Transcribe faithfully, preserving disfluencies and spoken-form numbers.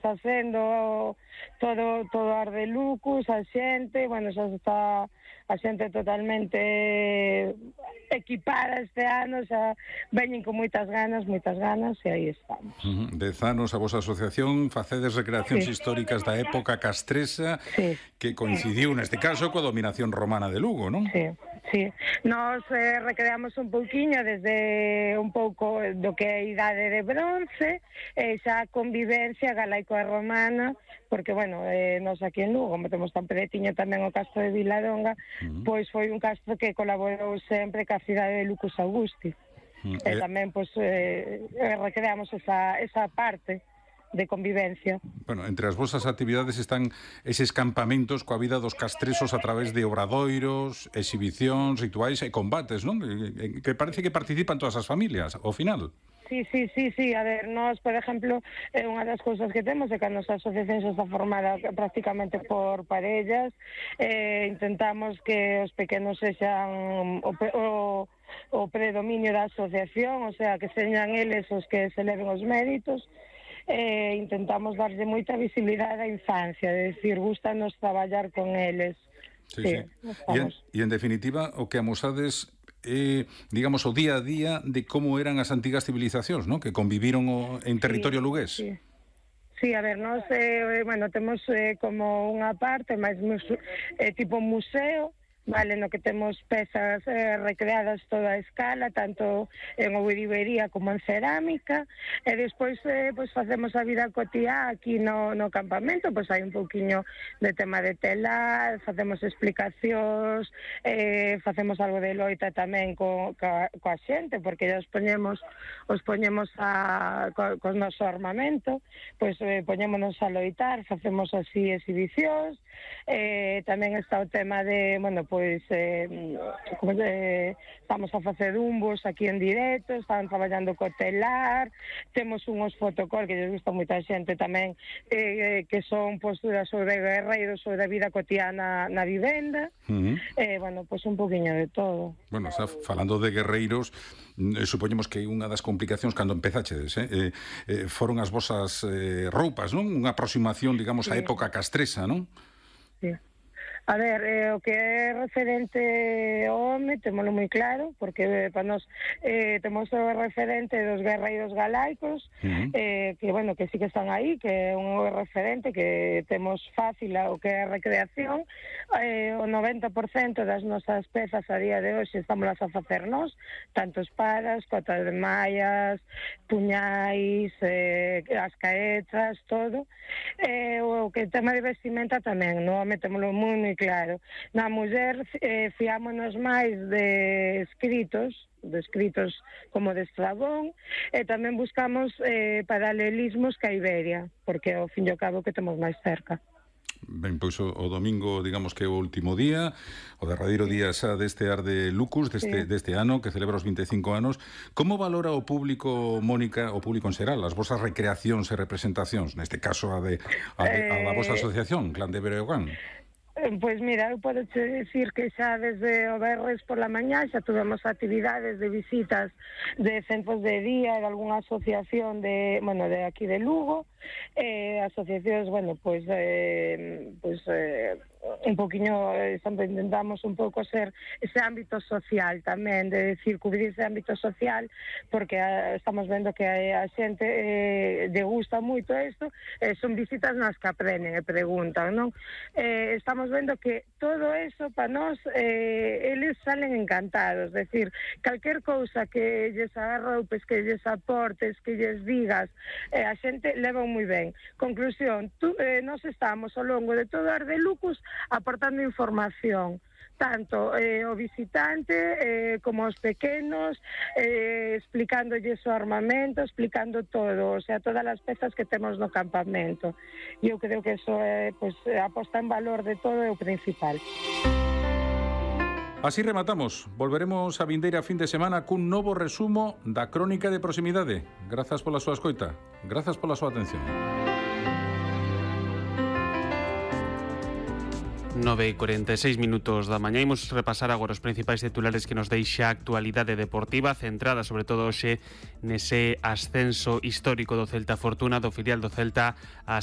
facendo todo todo ar de Lucus, a xente, bueno, xa está a xente totalmente equipada este ano, xa veñen con moitas ganas, moitas ganas, e aí estamos. Uh-huh. Dez anos a vosa asociación facedes recreacións sí. históricas da época castresa, sí. que coincidiu neste caso coa dominación romana de Lugo, non? Sí. Sí, nos eh, recreamos un pouquiño desde un pouco do que é a idade de bronce, e xa a convivencia galaico-romana, porque, bueno, eh, nos aquí en Lugo, como temos tan peretiño tamén o castro de Viladonga, uh-huh. pois foi un castro que colaborou sempre ca cidade de Lucus Augusti. Uh-huh. E tamén, pois, eh, recreamos esa, esa parte de convivencia. Bueno, entre as vosas actividades están eses campamentos coa vida dos castresos a través de obradoiros, exhibicións, rituais e combates, non? Que parece que participan todas as familias, ao final. Sí, sí, sí, sí, a ver, nós, por exemplo, eh, unha das cousas que temos é que a nosa asociación xa está formada prácticamente por parellas, eh, intentamos que os pequenos sexan o, o, o predominio da asociación, o sea, que señan eles os que se leven os méritos. Eh, intentamos darlle moita visibilidade á infancia, é dicir, gustanos traballar con eles. Sí, sí. sí. E, en, e en definitiva, o que amosades é, eh, digamos, o día a día de como eran as antigas civilizacións, ¿no? Que conviviron o, en territorio sí, lugués. Sí. Sí, a ver, nós, eh, bueno, temos eh, como unha parte máis eh, tipo museo, vale, no que temos pezas eh, recreadas toda a escala, tanto en ourivería como en cerámica, e despois eh, pues, facemos a vida cotiá aquí no, no campamento, pois pues, hai un pouquiño de tema de telar, facemos explicacións, eh, facemos algo de loita tamén co, co, coa xente, porque ya os poñemos os poñemos a, co, co noso armamento, pois pues, eh, poñémonos a loitar, facemos así exhibicións, eh, tamén está o tema de, bueno, pois pois eh, como de, estamos a facer umbos aquí en directo, están traballando co telar, temos unhos fotocall que lles gusta moita xente tamén, eh, que son posturas sobre guerreiros, sobre a vida cotiana na vivenda, uh-huh. eh, bueno, pois un poquinho de todo. Bueno, está falando de guerreiros, eh, supoñemos que unha das complicacións cando empezachedes, eh, eh, foron as vosas eh, roupas, non? Unha aproximación, digamos, á sí. época castresa, non? Sí. A ver, eh, o que é referente ao home, témolo moi claro, porque eh, para nós eh, temos o referente dos guerreiros galaicos, uh-huh. eh, que, bueno, que sí que están aí, que é un referente que temos fácil o que é a recreación, eh, o noventa por cento das nosas pezas a día de hoxe estamos a facer nós, tanto espadas, cotas de mallas, puñais, eh, as caetas, todo. Eh, o que tema de vestimenta tamén, no home témolo moi, moi claro. Na muller eh, fiámonos máis de escritos, de escritos como de Estrabón, e tamén buscamos eh, paralelismos ca Iberia, porque ao fin e ao cabo que temos máis cerca. Ben, pois o, o domingo, digamos que é o último día, o derradeiro día xa deste ar de Lucus, deste, sí. deste ano, que celebra os vinte e cinco anos. Como valora o público, Mónica, o público en xeral, as vosas recreacións e representacións, neste caso a, de, a, de, a da vosa asociación, Clan de Breogán? Pois mira, eu podo che dicir que xa desde o Berres por la mañá xa tuvemos actividades de visitas de centros de día, de algunha asociación de, bueno, de aquí de Lugo, eh, asociacións, bueno, pois, eh, pois, eh, un poquinho, eh, sempre intentamos un pouco ser ese ámbito social tamén, de decir, cubrir ese ámbito social, porque eh, estamos vendo que a, a xente eh, lle gusta moito isto, eh, son visitas nas que aprenden e preguntan, non? Eh, estamos vendo que todo eso para nós eh, eles salen encantados, es decir, calquer cousa que lles arroupes, que lles aportes, que lles digas, eh, a xente leva moi ben. Conclusión, tú, eh, nós estamos ao longo de todo ar de Lucus aportando información, tanto eh, o visitante eh, como os pequenos, eh, explicándolles o armamento, explicando todo, o sea, todas as pezas que temos no campamento. E eu creo que eso é, pues, a posta en valor de todo é o principal. Así rematamos. Volveremos a vindeira fin de semana cun novo resumo da crónica de proximidade. Grazas pola súa escoita. Grazas pola súa atención. nove e cuarenta e seis minutos da mañá. Imos repasar agora os principais titulares que nos deixa a actualidade deportiva, centrada sobre todo hoxe nese ascenso histórico do Celta Fortuna, do filial do Celta a